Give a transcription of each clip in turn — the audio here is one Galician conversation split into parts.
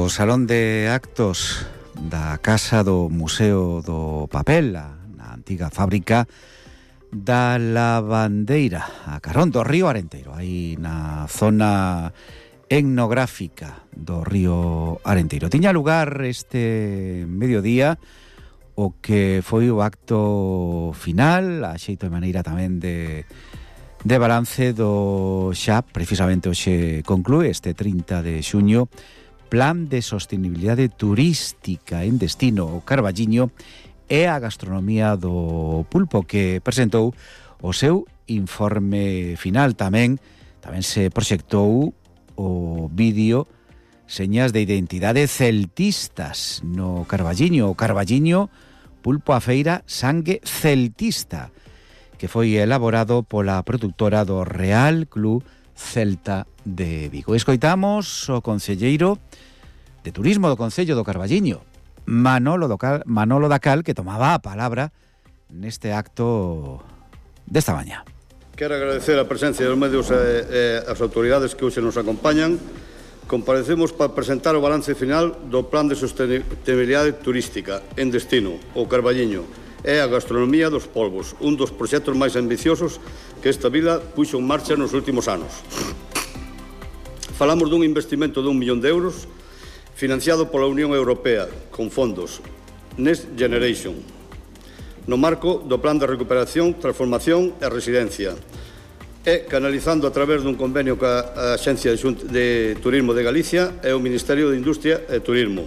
No Salón de Actos da Casa do Museo do Papel, na antiga fábrica da Lavandeira, a carón do río Arenteiro, aí na zona etnográfica do río Arenteiro. Tiña lugar este mediodía o que foi o acto final, a xeito de maneira tamén de balance do xa, precisamente hoxe conclúe este 30 de xuño, Plan de Sostenibilidade Turística en Destino o Carballiño e a Gastronomía do Pulpo, que presentou o seu informe final. Tamén se proxectou o vídeo Señas de Identidade Celtistas no Carballiño. O Carballiño, Pulpo a Feira, Sangue Celtista, que foi elaborado pola produtora do Real Club Celta de Vigo. Escoitamos o concelleiro de Turismo do Concello do Carballiño, Manolo Dacal, que tomaba a palabra neste acto desta mañá. Quero agradecer a presencia dos medios e as autoridades que hoxe nos acompañan. Comparecemos para presentar o balance final do Plan de Sostenibilidade Turística en Destino, o Carballiño, e a Gastronomía dos Polvos, un dos proxectos máis ambiciosos que esta vila puxo en marcha nos últimos anos. Falamos dun investimento de 1 millón de euros financiado pola Unión Europea con fondos Next Generation no marco do Plan de Recuperación, Transformación e Residencia e canalizando a través dun convenio ca Axencia de Turismo de Galicia e o Ministerio de Industria e Turismo.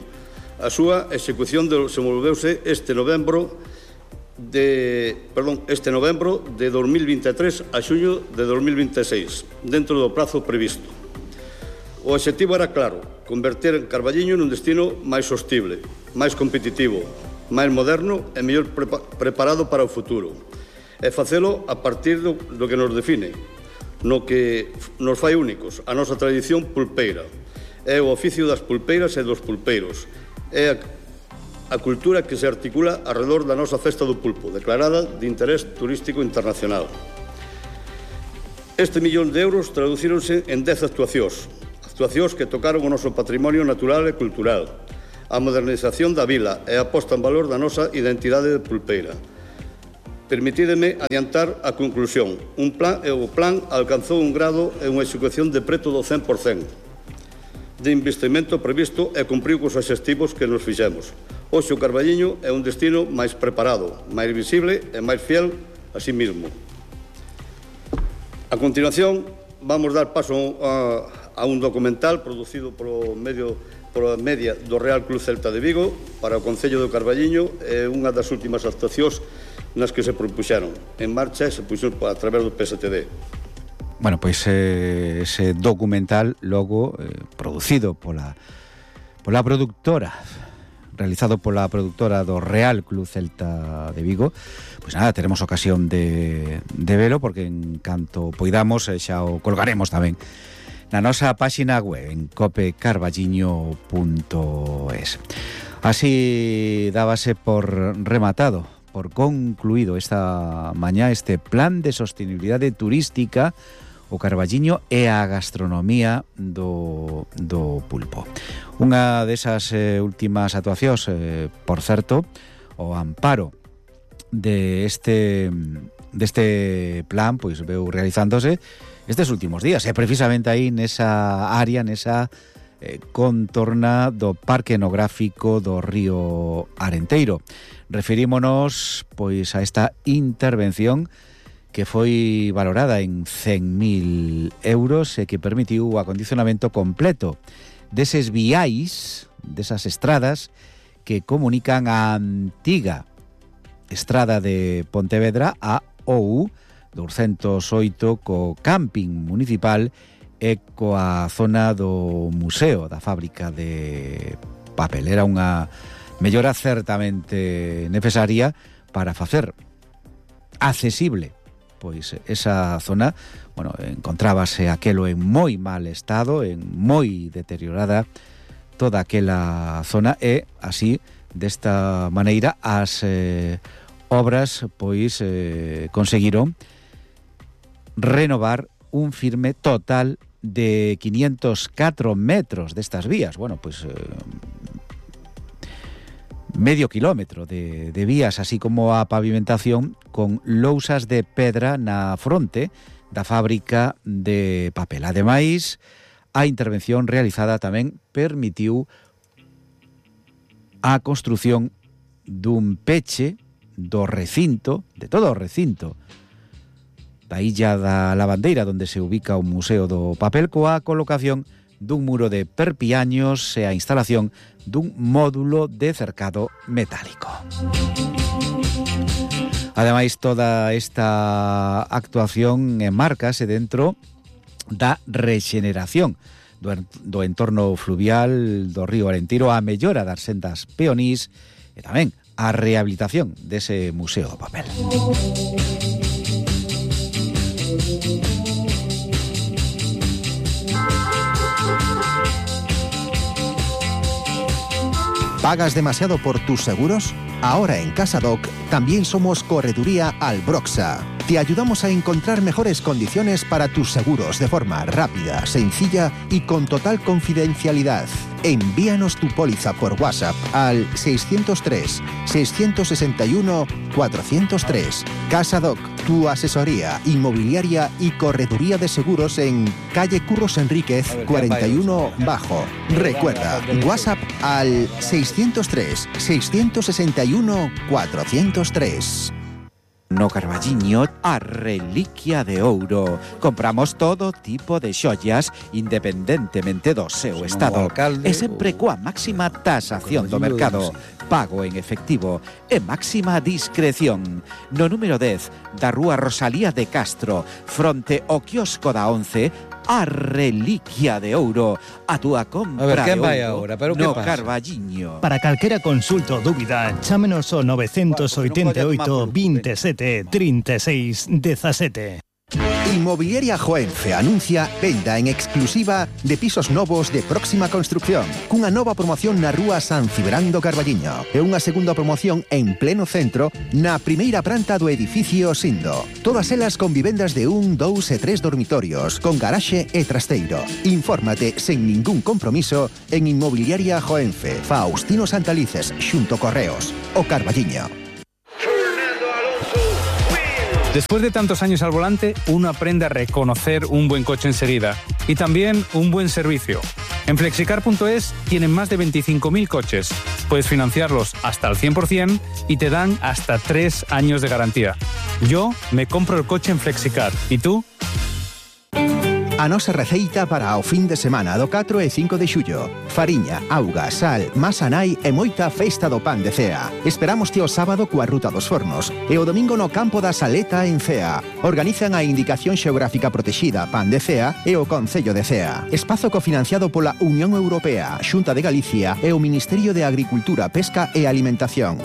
A súa execución desenvolveuse este novembro de 2023 a xuño de 2026, dentro do prazo previsto. O obxectivo era claro: converter Carballiño nun destino máis sostible, máis competitivo, máis moderno e mellor preparado para o futuro. E facelo a partir do que nos define, no que nos fai únicos, a nosa tradición pulpeira. É o oficio das pulpeiras e dos pulpeiros. É a cultura que se articula alrededor da nosa festa do pulpo, declarada de interés turístico internacional. Este millón de euros traducíronse en 10 actuacións que tocaron o noso patrimonio natural e cultural, a modernización da vila e a posta en valor da nosa identidade de pulpeira. Permitídeme adiantar a conclusión. O plan alcanzou un grado e unha execución de preto do 100% de investimento previsto e cumpriu cos obxectivos que nos fixemos. Hoxe o Carballiño é un destino máis preparado, máis visible e máis fiel a sí mismo. A continuación, vamos dar paso a un documental producido pola media do Real Club Celta de Vigo para o Concello do Carballiño, é unha das últimas actuacións nas que se propuxeron en marcha e se puxeron a través do PSTD. Bueno, pois ese documental logo producido pola produtora, realizado pola produtora do Real Club Celta de Vigo, pois nada, teremos ocasión de velo, porque en canto poidamos xa o colgaremos tamén na nosa páxina web en copecarballiño.es. Así dábase por rematado, por concluído esta mañá este Plan de Sostenibilidade Turística o Carballiño e a Gastronomía do Pulpo. Unha desas últimas actuacións, por certo, o amparo deste plan, pois veu realizándose estes últimos días, e precisamente aí nesa área, nesa contorna do Parque Etnográfico do río Arenteiro. Referímonos pois a esta intervención que foi valorada en 100.000 euros e que permitiu o acondicionamento completo deses viais, desas estradas que comunican a antiga estrada de Pontevedra a OU 208 co camping municipal e coa zona do museo da fábrica de papel. Era unha mellora certamente necesaria para facer accesible pois esa zona. Bueno, encontrábase aquelo en moi mal estado, en moi deteriorada toda aquela zona, e así, desta maneira, as obras pois conseguiron renovar un firme total de 504 metros destas vías. Bueno, pues medio kilómetro de vías, así como a pavimentación con lousas de pedra na fronte da fábrica de papel. Ademais, a intervención realizada tamén permitiu a construción dun peche do recinto, de todo o recinto da Illa da Lavandeira, onde se ubica o Museo do Papel, coa colocación dun muro de perpiaños e a instalación dun módulo de cercado metálico. Ademais, toda esta actuación enmárcase dentro da rexeneración do entorno fluvial do río Arentiro, a mellora das sendas peonís e tamén a rehabilitación dese Museo do Papel. ¿Pagas demasiado por tus seguros? Ahora en CasaDoc también somos Correduría Albroxa. Te ayudamos a encontrar mejores condiciones para tus seguros de forma rápida, sencilla y con total confidencialidad. Envíanos tu póliza por WhatsApp al 603-661-403. CasaDoc, tu asesoría inmobiliaria y correduría de seguros en calle Curros Enríquez 41 Bajo. Recuerda, WhatsApp al 603-661-403. No Carballiño, a reliquia de ouro. Compramos todo tipo de xoias independentemente do seu estado. E sempre coa máxima tasación do mercado. Pago en efectivo e máxima discreción. No número 10 da Rúa Rosalía de Castro, fronte ao quiosco da 11, a reliquia de ouro. A túa compra. A ver, quen de vai ouro agora? Pero no que pasa? Carballiño. Para calquera consulta ou dúbida, chámenos ao 988 27 36 17. Inmobiliaria Joenfe anuncia venda en exclusiva de pisos novos de próxima construcción, cunha nova promoción na Rúa San Cibrán do Carballiño e unha segunda promoción en pleno centro na primeira planta do edificio Sindo. Todas elas con vivendas de 1, 2 e 3 dormitorios, con garaxe e trasteiro. Infórmate sen ningún compromiso en Inmobiliaria Joenfe, Faustino Santalices, xunto Correos, o Carballiño. Después de tantos años al volante, uno aprende a reconocer un buen coche enseguida y también un buen servicio. En Flexicar.es tienen más de 25.000 coches. Puedes financiarlos hasta el 100% y te dan hasta 3 años de garantía. Yo me compro el coche en Flexicar. ¿Y tú? A nosa receita para o fin de semana do 4 e 5 de xullo. Fariña, auga, sal, masa nai e moita festa do pan de Cea. Esperámoste o sábado coa Ruta dos Fornos e o domingo no Campo da Saleta en Cea. Organizan a Indicación Xeográfica Protexida Pan de Cea e o Concello de Cea. Espazo cofinanciado pola Unión Europea, Xunta de Galicia e o Ministerio de Agricultura, Pesca e Alimentación.